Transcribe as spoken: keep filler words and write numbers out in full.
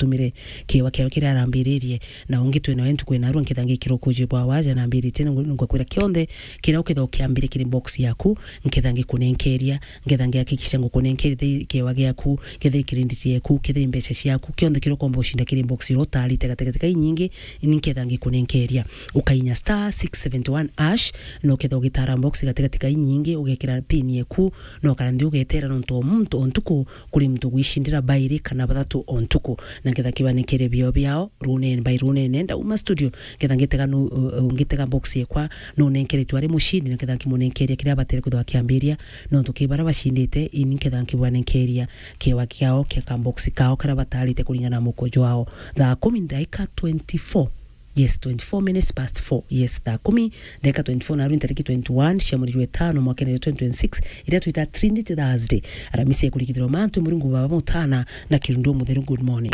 tumire kiewa kiao kiria arambiririe, na ungi twina we ntuku ina arua nketha ngikira ukuji bwa waja na mbiritie, na ngakwira kionthe kiria uketha ukiambire kiri box yaku, nketha ngikunenkeria, nketha ngihakikisha ngukunenkeria kiewa giaku, kethira ikirindi cieku, kethira imbeca ciaku, kionthe kiria ukomba ucinda kiri box iria utarite gatigati ka inyingi, ni nketha ngikunenkeria. Ukainya star six seventy one hash, na uketha ugitara box gatigati ka inyingi, ugekira pin yeku, na ukara nthi ugetera nontu o muntu o ntuku kuri muntu gwicindira bairi kana bathatu o ntuku, na nketha kibanenkerie bio biao runene by runene. Ndauma studio, nketha ngitega nu-, uh, uh, ngitega box yekwa, nunenkeretwe ari mucindi, na nketha nkimunenkeria kiria abatire kwithirwa akiambiria, nontu ki bara bacindite, ini nketha nkibanenkeria kiewa kiao kia kabox kao karia batarite kuringana na muko jwao. Thaa kumi ndaika twenty-four. Yes, twenty-four minutes past four. Yes, thaa kumi ndaika twenty-four, na aru ntariki twenty-one cia mweri jwa itano mwakene jwa twenty twenty-six, iria twita Trinity Thursday. Aramisi ekurikithirwa mantu Murungu Baba Mutana na Kirundu Mutheru. Good morning.